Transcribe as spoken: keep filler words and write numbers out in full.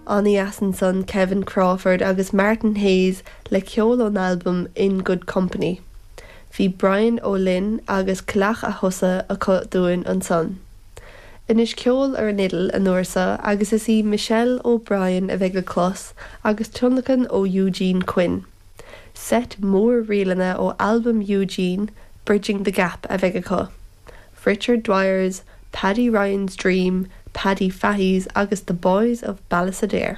An-dheas ansan Kevin Crawford agus Martin Hayes le ceol ón albam In Good Company. Bhí Brian Ó Fhloinn agus Cailleach a Chosa acu dúinn ansan. Anois ceol ar an fhidil an uair seo agus is í Michelle O'Brien a bheidh le clos agus tionlacan ó Eugene Quinn. Set mór ríleanna ó albam Eugene, Bridging the Gap a bheidh acu. Richard Dwyer's, Paddy Ryan's Dream, Paddy Fahy's agus the Boys of Ballisodare.